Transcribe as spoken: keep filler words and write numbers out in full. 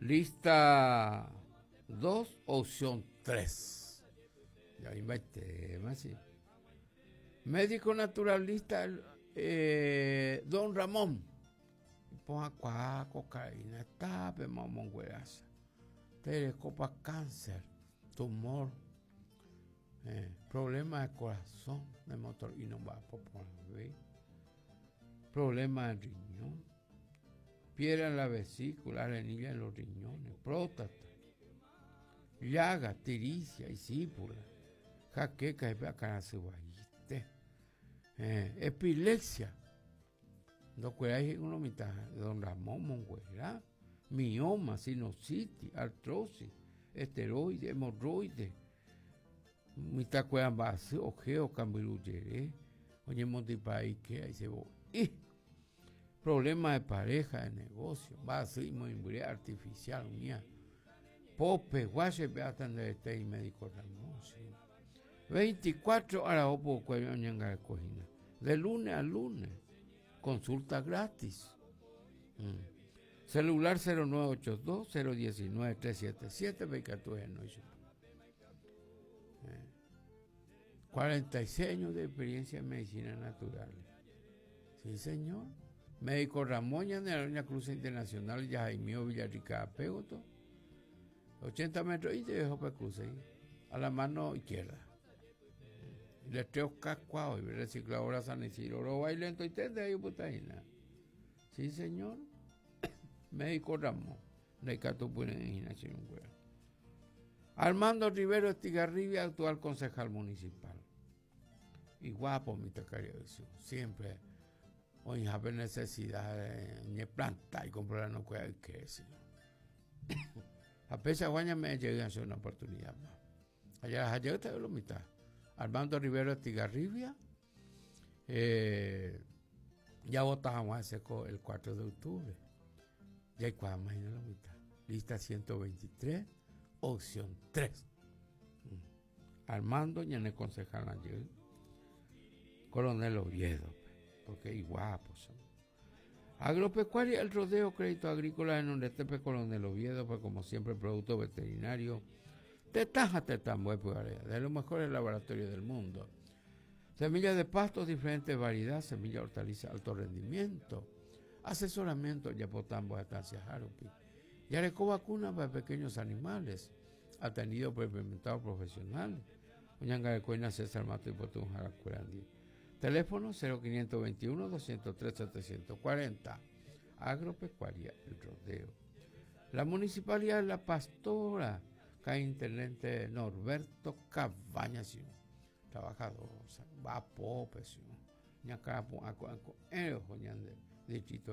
Lista dos, opción tres. Ya tema, sí. Médico naturalista eh, Don Ramón. Ponga cocaína, tape, mamón, Telecopa cáncer, tumor, eh, problema de corazón, de motor y no va a poner, problema de riñón, piedra en la vesícula, arenilla en los riñones, próstata, llaga, tiricia y sípula, jaqueca, eh, epilepsia, no uno mitad, don Ramón Monguera, mioma, sinusitis, artrosis, esteroide, hemorroides, mitad cuedan base, ojeo, cambiruyere, oye montipaí que ahí se y problema de pareja, de negocio, base y muy artificial, mía. Pope, guache, beatan de este y médico Ramón, sí. veinticuatro horas opo cuello ñanga cojina. De lunes a lunes. Consulta gratis. Mm. Celular cero nueve ocho dos, cero diecinueve, tres siete siete, cuarenta y seis años de experiencia en medicina natural. Sí, señor. Médico Ramón de la Cruz Internacional, Yajaimío Villarrica Pégoto. ochenta metros y te dejo para cruz ahí, a la mano izquierda. Letreo Cascuao y recicladora San Isidro, lo bailento y tende ahí putaina. Sí, señor. Médico Ramón, de Armando Rivero Estigarribia, actual concejal municipal. Y guapo, mi tacario, siempre. Hoy hay necesidad de planta y comprar no puede que sí. A pesar de me llegué a hacer una oportunidad más. Allá allá está la mitad. Armando Rivero Estigarribia, eh, ya votamos hace el cuatro de octubre. Ya hay cuatro más en la mitad. Lista ciento veintitrés, opción tres. Armando, ya en el concejal ayer. Coronel Oviedo, porque es guapo. Son. Agropecuaria, el rodeo, crédito agrícola en Nondetepe, Coronel Oviedo, pues como siempre, producto veterinario. Tetaja, tetambo, de los mejores laboratorios del mundo. Semillas de pastos, diferentes variedades, semilla, hortaliza, alto rendimiento. Asesoramiento, Yapotambo, Estancia Jarupi. Yareco vacuna para pequeños animales, atendido por implementado profesional. Uñanga de Coina, César Mato y Potún, Jaracuerandi. Teléfono cero quinientos veintiuno, doscientos tres, setecientos cuarenta. Agropecuaria, el rodeo. La Municipalidad de La Pastora, cae intendente Norberto Cabañas, trabajador, va pope, ñacapo, aco, aco, distrito